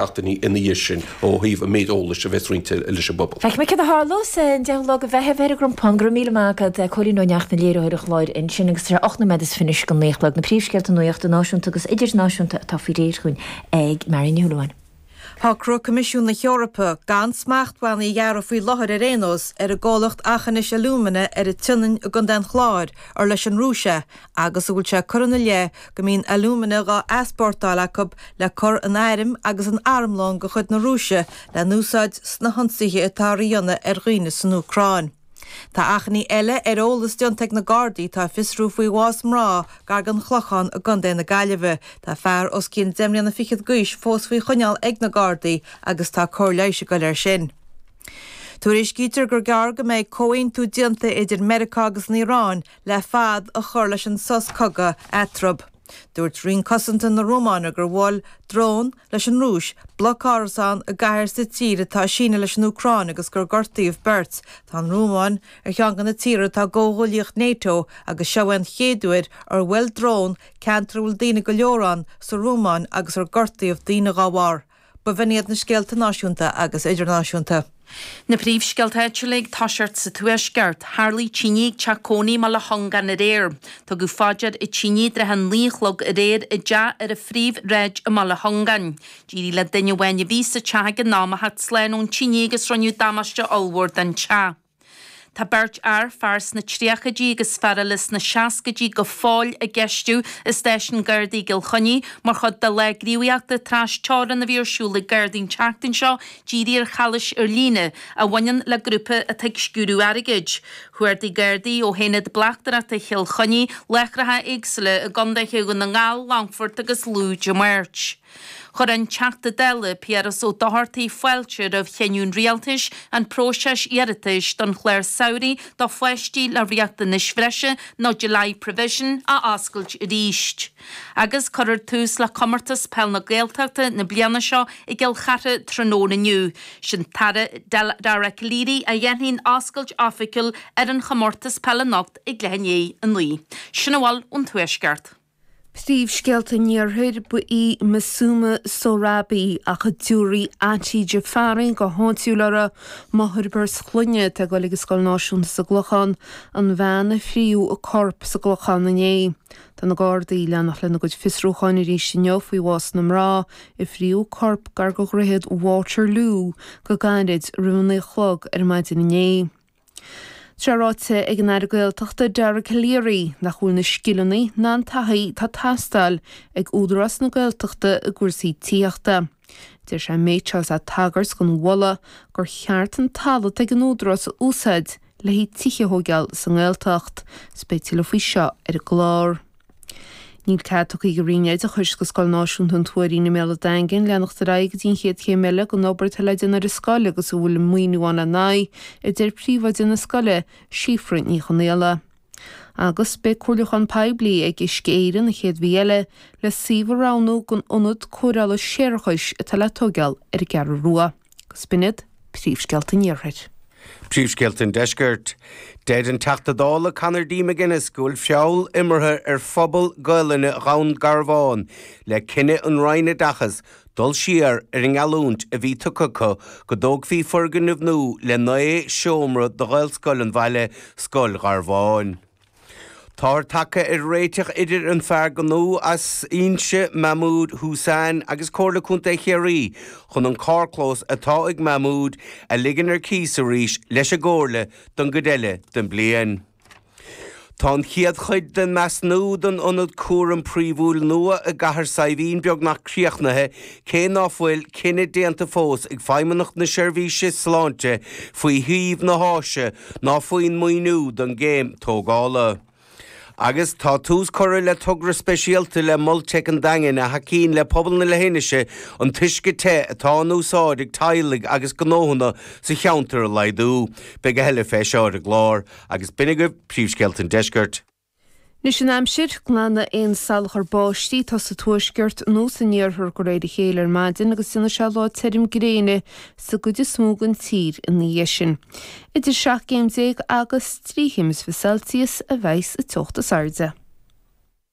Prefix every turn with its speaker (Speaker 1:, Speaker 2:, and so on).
Speaker 1: Seachtainí ina dhiaidh sin ó thaobh an méid eolais a bheas roinnte leis an bpobal.
Speaker 2: Feicfidh mé céard a tharlós an 10ú lá de Mheitheamh ar an gCrompán. Go raibh míle maith agat, Cóilín Ó Neachtain, léiritheoir an chláir ansin agus tá sé 8 nóiméad is fiche anois go 9 a chlog. Na príomhscéalta nuachta náisiúnta agus idirnáisiúnta atá faoi réir chugainn ag Marion Ní Shúilleabháin.
Speaker 3: Shocraigh Coimisiún na hEorpa gan smachtbhannaí a ghearradh faoi láthair ar aon nós ar an gcomhlacht Aughinish Alumina ar an tSionainn i gContae an Chláir ar leis an Rúis é agus a bhfuil sé curtha ina leith go mbíonn alúmana dhá easpórtáil acu le cur in airm agus in armlón de chuid na Rúise le n-úsáid sna hionsaithe atáthar a dhéanamh ar dhaoine san Úcráin. Tá achainí eile ar eolas déanta ag na Gardaí atá ag fiosrú faoi bhás mná gar don Chlochán i gContae na Gaillimhe. Tá fear os cionn deich mbliana fichead d'aois fós faoi choinneáil ag na Gardaí agus tá cóir leighis ag dul air sin. Tuairiscítear gur gearr go mbeidh comhaontú déanta idir Meiriceá agus an Iaráin le fad a chur leis an sos cogaidh eatarthu. Dúirt Roinn Cosanta na Rómáine gur bhuail drón leis an Rúis bloc árasán i gcathair sa tír atá ag síneadh leis an Úcráin agus gur gortaíodh beirt. Tá an Rómáin ar cheann de na tíortha atá i gcomhghuaillíocht NATO agus seo é an chéad uair ar bhuail drón ceantar a bhfuil daoine go leor ann sa Rómáin agus ar gortaíodh daoine dá bharr. B'in iad na scéalta náisiúnta agus idirnáisiúnta.
Speaker 4: Na príomhscéalta áitiúla ag toiseacht sa Tuaisceart. Tharlaigh tine ag teach cónaí i mBaile Chongáin aréir. Tugadh fá dear an tine i dtrátha a naoi a chlog aréir i dteach ar an Phríomhshráid i mBaile Chongáin. D'éirigh le duine amháin a bhí sa teach ag an am a theacht slán ón tine agus rinneadh damáiste ollmhór don teach. Tá beirt fhear, fear sna tríochaidí agus fear eile sna seascaidí, go fóill á gceistiú i Stáisiún Gardaí i gCill Chainnigh mar chuid de lá gníomhaíochta tras-teorann a bhí ar siúl ag Gardaí an tseachtain seo dírithe ar chalaois ar líne a bhaineann le grúpa atá ag sciúradh airgid. Chuardaigh Gardaí ó hAonad Bleachtaireachta Chill Chainnigh láithreacha éagsúla i gcontaetha Dhún na nGall, Longfort agus Lú Dé Máirt. Chuir an Teachta Dála Piaras Ó Dochartaigh fáilte roimh chinneadh an Rialtais an próiseas iarratais don chlár samhraidh do pháistí le riachtanais bhreise nó Delayed Provision a oscailt arís. Agus cuirfear tús le Comórtas Peil na Gaeltachta na bliana seo i gCill Chartha tráthnóna inniu. Sin Tara Dara Calleary a dhéanfaidh an oscailt oifigiúil ar an chomórtas peile anocht ag leath i ndiaidh a 9. Sin a bhfuil ón Tuaisceart.
Speaker 5: Príomhscéalta an Iarthair, Ba í Masuma Sohrabi, ach a dtabharfaí Auntie Jafari go háitiúil uirthi, máthair beirt chlainne atá ag dul ag an Scoil Náisiúnta sa gClochán, an bhean a fríodh a corp sa gClochán inné. Tá na Gardaí ag leanacht lena gcuid fiosrúcháin arís inniu faoi bhás na mná a fríodh a corp gar do dhroichead Waterloo go gairid roimh a 9 a chlog ar maidin inné. Tá sé ráite ag an Aire Gaeltachta Dara Calleary nach bhfuil na scileanna ná an taithí atá ag teastáil ag Údarás na Gaeltachta i gcúrsaí tithíochta. Deir sé an méid seo is é ag tagairt don mholadh gur cheart an talamh atá ag an Údarás a úsáid le haghaidh tithe a thóigeáil sa nGaeltacht. 'S beidh tuilleadh faoi seo ar an gclár. Níl cead tugtha ag an Roinn Oideachais do Scoil Náisiúnta an Tuairín i mBéal an Daingin leanacht ar aghaidh go dtí an chéad chéim eile den obair atá le déanamh ar an scoil agus a bhfuil maoiniú ann lena aghaidh, a deir príomhoide na scoile, Síofra Ní Chonaola. Agus beidh comhairliúchán poiblí ag Uisce Éireann an chéad mhí eile le suíomh a roghnú don ionad cóireála séarachais atá le tóigeáil ar an gCeathrú Rua. Agus b'in iad príomhscéalta an Iarthair.
Speaker 6: Príomhscéalta an Deiscirt. Deir an Teachta Dála Conor D. McGuinness go bhfuil feall imeartha ar phobal Gaelainne Dhún Garbhán le cinneadh an Roinn Oideachais dul siar ar an ngeallúint a bhí tugtha acu go dtógfaí foirgneamh nua le 9 seomra do Ghaelscoil an bhaile, Scoil Gharbháin. Táthar tagtha ar réiteach idir an fear gnó as Inse, Mahmood Hussain, agus Comhairle Contae Chiarraí chun an carrchlós atá ag Mahmood a ligean ar cíos arís leis an gComhairle don gcuid eile den bliain. Tá an chéad chuid den measúnú don ionad cúraim príomhúil nua i gCathair Saidhbhín beagnach críochnaithe cé ná fuil cinneadh déanta fós ag Feidhmeannacht na Seirbhíse Sláinte faoi shuíomh na háise ná faoin maoiniú don gcéim tógála. Agus tá tús curtha le togra speisialta le Mol Teic an Daingin a thacaíonn le pobal na leithinise an t-uisce te atá in úsáid ag teaghlaigh agus gnóthanna sa cheantar a laghdú. Beidh a thuilleadh fé seo ar an gclár agus b'in agaibh príomhscéalta an deiscirt.
Speaker 5: Anois an aimsir, glanfaidh aon salachar báistí atá sa tuaisceart nó san iarthar de réir a chéile ar maidin agus déanfaidh sé lá tirim gréine sa gcuid is mó den tír ina dhiaidh sin. Idir 17 gcéim agus 23 chéim is fiche Celsius a bheidh sa teocht is airde.